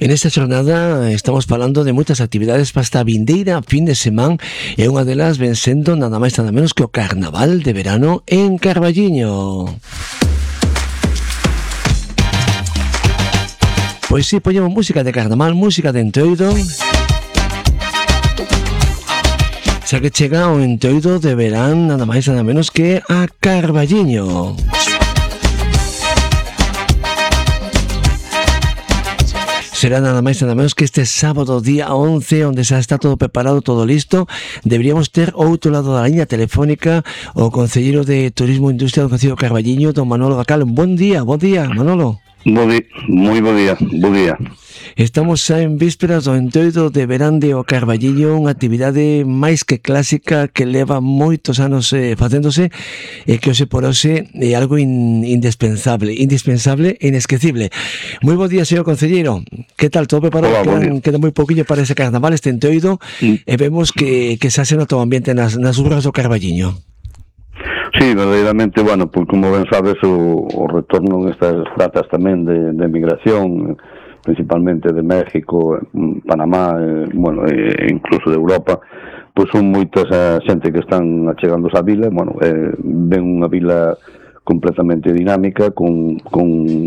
En esta xornada estamos falando de moitas actividades para esta vindeira fin de semana e unha delas ven sendo nada máis nada menos que o Carnaval de Verano en Carballiño. Pois si, poñemos música de carnaval, música de entroido, xa que chega o entroido de verán nada máis nada menos que a Carballiño. Será nada máis nada menos que este sábado día 11, onde xa está todo preparado, todo listo. Deberíamos ter ao outro lado da liña telefónica o concelleiro de Turismo e Industria do Concello de Carballiño, don Manolo Gacal. Bon día, Manolo. Moi bo día. Estamos xa en vísperas do entroido de verán de o Carballiño, unha actividade máis que clásica que leva moitos anos facéndose e que hoxe por hoxe é algo indispensable e inesquecible. Moi bo día, señor concelleiro. Que tal? Todo preparado? Queda moi pouquiño para ese carnaval, este entroido, e vemos que xa se nota o ambiente nas urras do Carballiño. Sí, verdadeiramente, bueno, pues como ben sabes, o retorno nestas datas tamén de migración, principalmente de México, Panamá, bueno, incluso de Europa, pois son moitas a xente que están achegándose á vila, bueno, ven unha vila completamente dinámica, con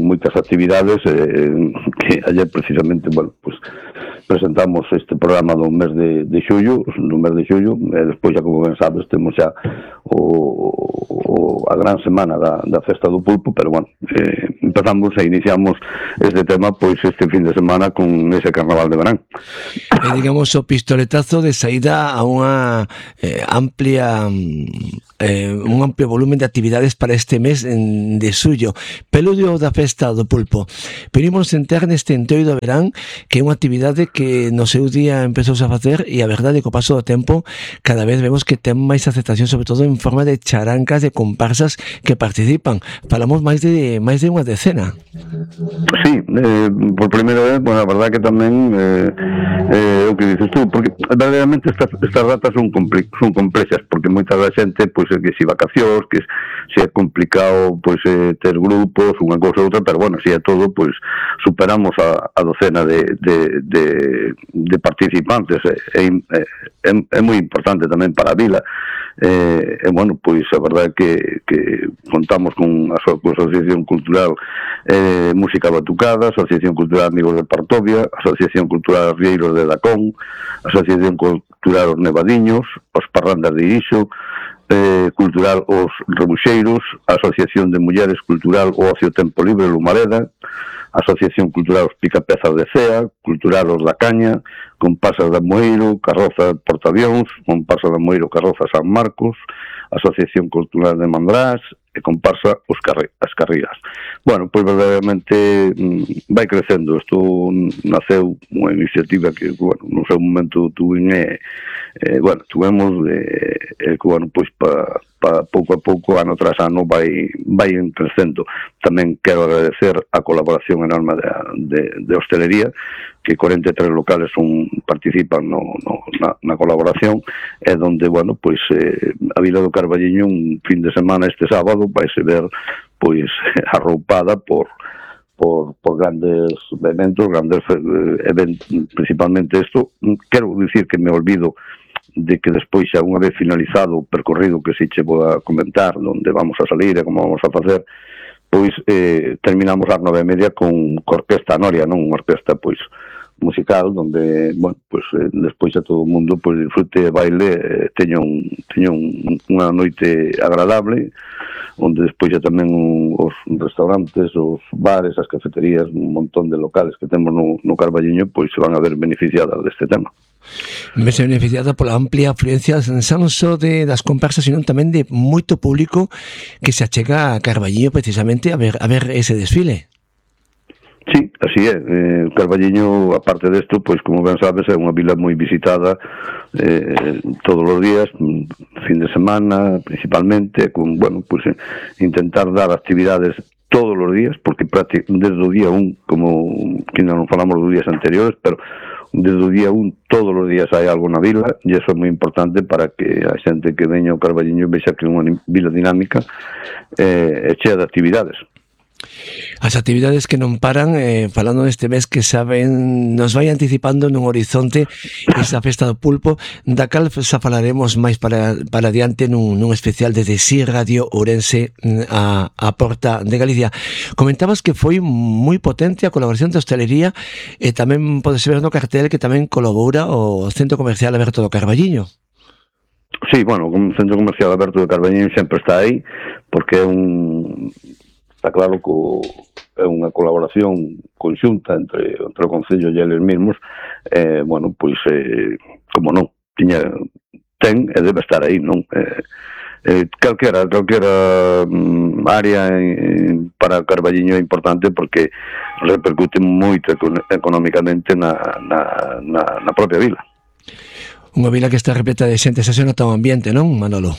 moitas actividades, que ayer precisamente, bueno, pues presentamos este programa do mes de xullo, e despois, xa como ben sabes, temos xa a gran semana da Festa do Pulpo, pero bueno, empezamos e iniciamos este tema pois este fin de semana con ese Carnaval de Verán. Digamos, o pistoletazo de saída a unha amplia un amplio volumen de actividades para este mes de xullo, peludio da Festa do Pulpo. Venimos entrar neste entroido de verán, que é unha actividade que no seu día empezouse a facer, e a verdade que o paso do tempo cada vez vemos que ten máis aceptación, sobre todo en forma de charancas, de comparsas que participan. Falamos máis de unha decena. Sí, por primeira vez, bueno, a verdade que tamén o que dices tú, porque verdadeiramente estas datas son complexas, porque moita da xente, pois, que si vacacións, que se é complicado, pois, ter grupos, unha cousa ou outra, pero bueno, si é todo, pois, superamos a docena de participantes. É moi importante tamén para a vila, e bueno, pois a verdade que contamos con a Asociación Cultural Música Batucada, Asociación Cultural Amigos de Partovia, Asociación Cultural Rieiros de Dacón, Asociación Cultural Os Nevadiños, Os Parrandas de Ixo, Cultural Os Rebuxeiros, Asociación de Mulleres Cultural O Ocio Tempo Libre Lumareda, Asociación Cultural Os Picapezas de Cea, Cultural Os da Caña, Comparsas de Amoeiro, Carroza Portavións, Comparsa de Amoeiro, Carroza San Marcos, Asociación Cultural de Mandrás e comparsa As Carrigas. Bueno, pois verdadeiramente vai crecendo. Isto naceu unha iniciativa que, bueno, no seu momento tuvemos que, bueno, pois para pouco a pouco, ano tras ano, vai crecendo. Tamén quero agradecer a colaboración enorme de hostelería, que 43 locales participan na colaboración, e donde, bueno, pois a Vila do Carballiño un fin de semana este sábado vaise ver pois arroupada por grandes eventos, principalmente isto. Quero dicir que me olvido de que despois, xa unha vez finalizado o percorrido que se che vou a comentar, onde vamos a salir e como vamos a facer, pois terminamos ás 9:30 con Orquesta Noria, non? Unha orquesta, pois, musical, donde, bueno, pois despois a todo o mundo pois disfrute e baile, teña unha noite agradable, onde despois xa tamén os restaurantes, os bares, as cafeterías, un montón de locales que temos no Carballiño, pois se van a ver beneficiadas deste tema. Vese beneficiada pola amplia afluencia non só das comparsas, sino tamén de moito público que se achega a Carballiño precisamente a ver ese desfile. Sí, así é. Carballiño, aparte desto, pois como ben sabes, é unha vila moi visitada todos os días, fin de semana principalmente, con, bueno, pois intentar dar actividades todos os días, porque desde o día 1, como que non falamos dos días anteriores, pero desde o día 1 todos os días hai algo na vila, e iso é moi importante para que a xente que veña ao Carballiño vexa que é unha vila dinámica e chea de actividades. As actividades que non paran, falando deste mes que saben, nos vai anticipando nun horizonte esa festa do pulpo, da cal xa falaremos máis para adiante nun especial desde Si Radio Ourense a porta de Galicia. Comentabas que foi moi potente a colaboración da hostelería e tamén podes ver no cartel que tamén colabora o Centro Comercial Aberto do Carballiño. Sí, bueno, o Centro Comercial Aberto do Carballiño sempre está aí, porque está claro que é unha colaboración conxunta entre o Concello e eles mesmos, bueno, pois, como non, ten e debe estar aí, non? Calquera área para Carballiño é importante porque repercute moito económicamente na propia vila. Unha vila que está repleta de xente, xa se nota o ambiente, non, Manolo?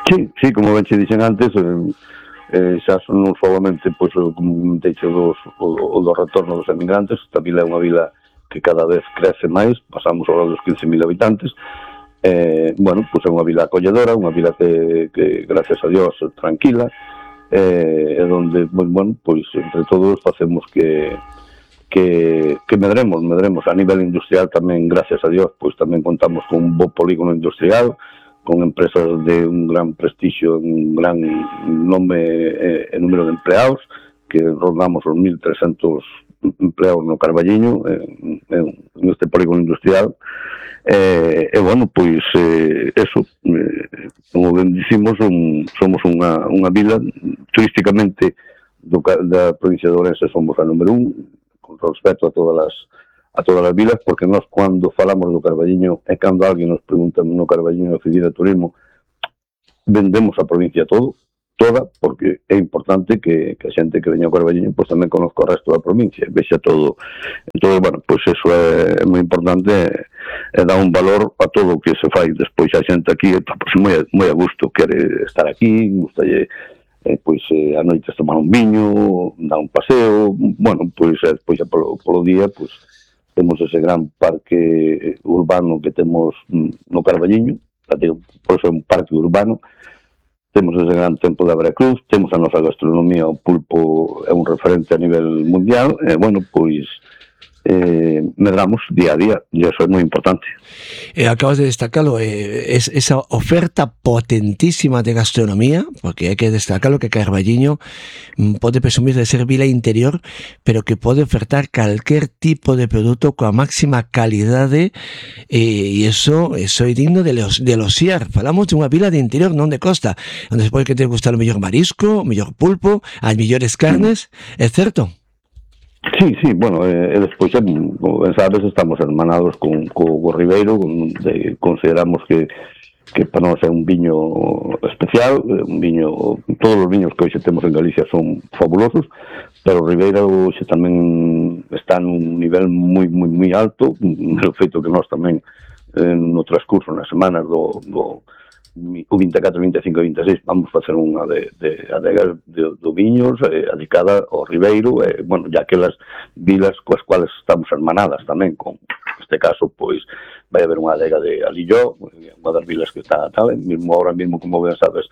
Sí, como ben che dixen antes, xa non solamente pois, como deixo do retorno dos emigrantes. Esta vila é unha vila que cada vez crece máis, pasamos ahora dos 15.000 habitantes. Bueno, pois é unha vila acolledora, unha vila que gracias a Dios, tranquila, e donde, bueno, pois entre todos facemos que medremos a nivel industrial tamén, gracias a Dios, pois tamén contamos con un bo polígono industrial, con empresas de un gran prestixio, un gran nome e número de empleados, que rondamos os 1.300 empleados no Carballiño, neste polígono industrial. E, bueno, pois, eso, como ben dicimos, somos unha vila, turísticamente, da provincia de Ourense somos a número 1, con respecto a todas as vilas, porque nós cando falamos do Carballiño e cando alguén nos pregunta no Carballiño de Oficina de Turismo, vendemos a provincia toda, porque é importante que a xente que veña ao Carballiño pois tamén conozca o resto da provincia, vexa todo. Entón, bueno, pois eso é moi importante e dá un valor a todo o que se fai. Despois a xente aquí pois, moi a gusto, quere estar aquí, gustalle pois a noite tomar un viño, dar un paseo, bueno, pois despois polo día, pois temos ese gran parque urbano que temos no Carballiño, por eso é un parque urbano, temos ese gran templo de Veracruz, temos a nosa gastronomía, o pulpo é un referente a nivel mundial, e, bueno, pois, medramos día a día, e eso é moi importante. Acabas de destacarlo, esa oferta potentísima de gastronomía, porque hai que destacarlo que Carballiño pode presumir de ser vila interior, pero que pode ofertar calquer tipo de produto coa máxima calidade, e eso é digno de eloxiar. Falamos de unha vila de interior, non de costa, onde se pode que te gustar o mellor marisco, o mellor pulpo, as mellores carnes, é certo? Sí, bueno, e despois, como ben sabes, estamos hermanados co Ribeiro, consideramos que para nós é un viño especial, todos os viños que hoxe temos en Galicia son fabulosos, pero o Ribeiro hoxe tamén está nun nivel moi alto, o feito que nós tamén no transcurso, nas semanas do 24, 25 e 26 vamos facer unha de adegas do viños dedicada ao Ribeiro, bueno, ya aquelas vilas coas cuales estamos hermanadas tamén, con este caso, pois vai haber unha adega de Alilló, unha das vilas que está tal, mesmo ahora mesmo, como ben sabes,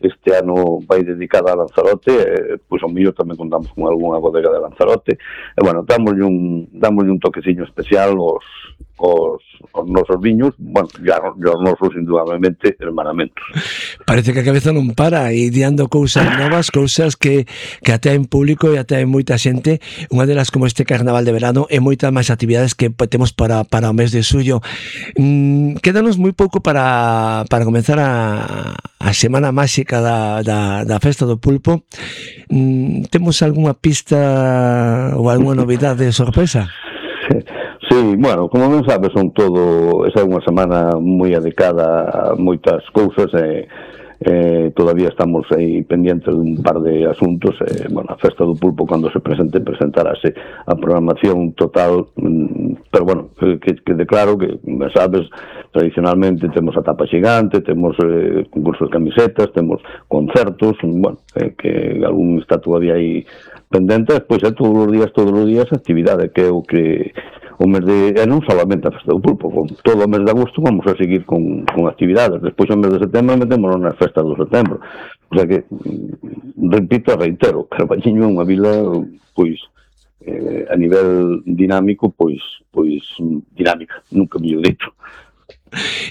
este ano vai dedicada a Lanzarote, pois ao mellor tamén contamos con algunha bodega de Lanzarote, e, bueno, dámoslle un toqueciño especial aos nosos viños, bueno, ya os nosos indudablemente hermanamentos. Parece que a cabeza non para, e diando cousas novas, cousas que até en público e até en moita xente, unha delas como este carnaval de verano e moitas máis actividades que temos para o mes de suyo. Quédanos moi pouco para comenzar a semana máxica da festa do pulpo. Temos algunha pista ou algunha novidade de sorpresa? Sí, bueno, como ben sabes, esa é unha semana moi dedicada a moitas cousas e todavía estamos aí pendientes de un par de asuntos. Bueno, a festa do pulpo, cando se presentarase a programación total, pero bueno, que declaro que, sabes, tradicionalmente temos a tapa xigante, temos concursos de camisetas, temos concertos, bueno, que algún está todavía aí pendente. Despois todos os días actividade, que é o que o mes de, e non solamente a festa do pulpo, con todo o mes de agosto vamos a seguir con actividades, despois o mes de setembro metémonos nas festas do setembro, o sea que, repito e reitero, Carballiño é unha vila, pois, a nivel dinámico, pois dinámica, nunca mellor dito.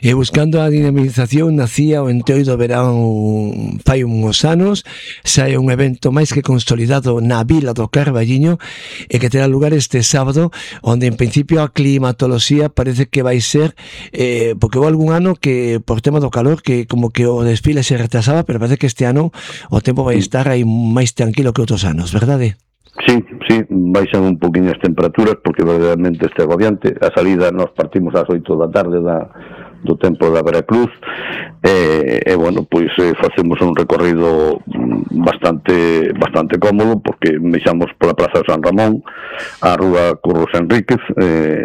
E buscando a dinamización nacía o Entroido Verán fai uns anos, sai un evento máis que consolidado na vila do Carballiño e que terá lugar este sábado, onde en principio a climatoloxía parece que vai ser porque houve algún ano que por tema do calor que como que o desfile se retrasaba, pero parece que este ano o tempo vai estar aí máis tranquilo que outros anos, verdade? Sí, baixan un poquinho as temperaturas porque verdadeiramente este agobiante. A salida nos partimos ás 8 da tarde do tempo da Veracruz e bueno, pois facemos un recorrido bastante cómodo porque mexamos pola Praza de San Ramón, a Rúa Curros Enríquez,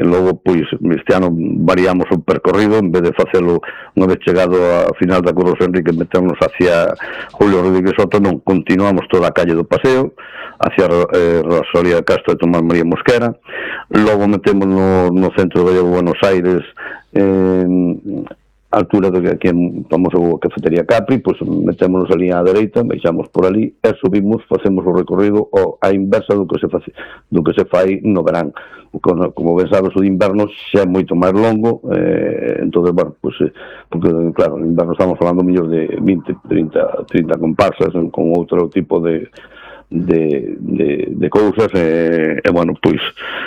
logo pois este ano variamos o percorrido, en vez de facelo unha vez chegado a final da Curros Enríquez meternos hacia Julio Rodríguez Soto, non, continuamos toda a calle do Paseo hacia Rosalía de Castro e Tomás María Mosquera, logo metemos no centro de Buenos Aires, a altura do que aquí vamos a cafetería Capri, pois metémonos ali á dereita, baixamos por ali e subimos, facemos o recorrido a inversa do que se fai no verán. Como ben sabes, o de inverno xa é moito máis longo, entonces, bueno, pois, porque, claro, no inverno estamos falando mellor de 20, 30 comparsas con outro tipo de cousas e bueno, pois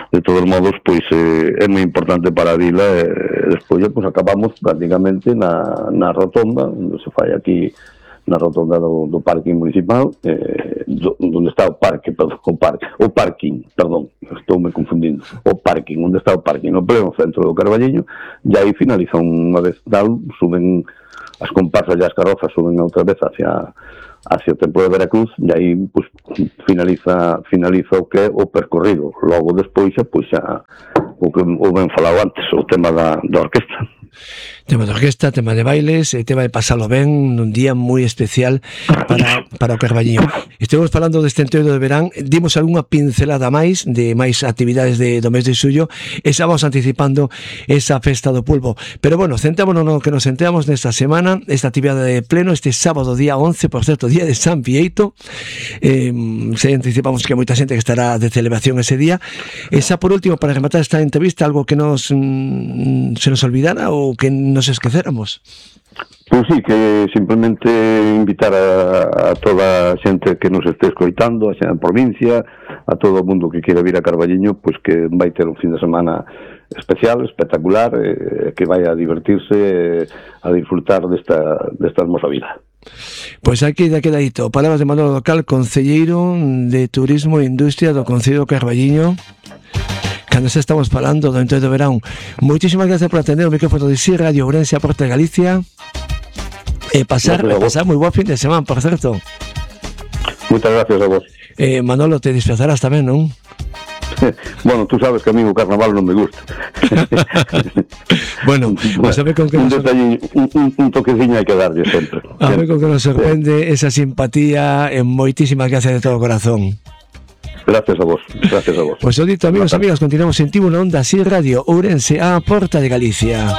de todos modos pois é moi importante para a vila e despois pois acabamos prácticamente na rotonda onde se fai aquí na rotonda do parking municipal onde está o parking, estoume confundindo, o parking, onde está o parking no pleno centro do Carballiño, e aí finaliza unha vez suben as comparsas e as carrozas suben outra vez hacia o templo de Veracruz e aí pues, finaliza o que é o percorrido. Logo despois pois xa o que o ben falado antes, o tema da orquesta. Tema de orquesta, tema de bailes, tema de pasalo ben nun día moi especial para o Carballiño. Estamos falando deste Entroido de Verán, dimos algunha pincelada máis de máis actividades do mes de xullo e xa vamos anticipando esa festa do pulpo. Pero bueno, centrémonos no que nos centramos nesta semana, esta actividade de pleno, este sábado día 11, por certo, día de San Vieito. Se anticipamos que hai moita xente que estará de celebración ese día. E xa por último, para rematar esta entrevista, algo que se nos olvidara ou que nos esquecéramos? Pois sí, que simplemente invitar a toda a xente que nos este escoitando, a xente da provincia, a todo o mundo que queira vir a Carballiño, pois que vai ter un fin de semana especial, espectacular, que vai a divertirse, a disfrutar desta hermosa vida. Pois aquí da quedadito, palabras de Manolo Docal, concelleiro de Turismo e Industria do Concello de Carballiño. Cando se estamos falando do Entroido de Verán. Moitísimas gracias por atender o micrófono de Si Radio Ourense, a Porta de Galicia e pasar moi boa fin de semana, por certo. Moitas gracias a vos. Manolo, te disfrazarás tamén, non? Bueno, tú sabes que a mí o carnaval non me gusta. Bueno, pues a ver con que un toqueciño hai que darlle sempre. A ver con que nos sorprende esa simpatía e moitísimas gracias de todo o corazón. Gracias a vos. Pues o dito, amigos, amigas, continuamos en Tibu na Onda Si Radio Ourense, a Porta de Galicia.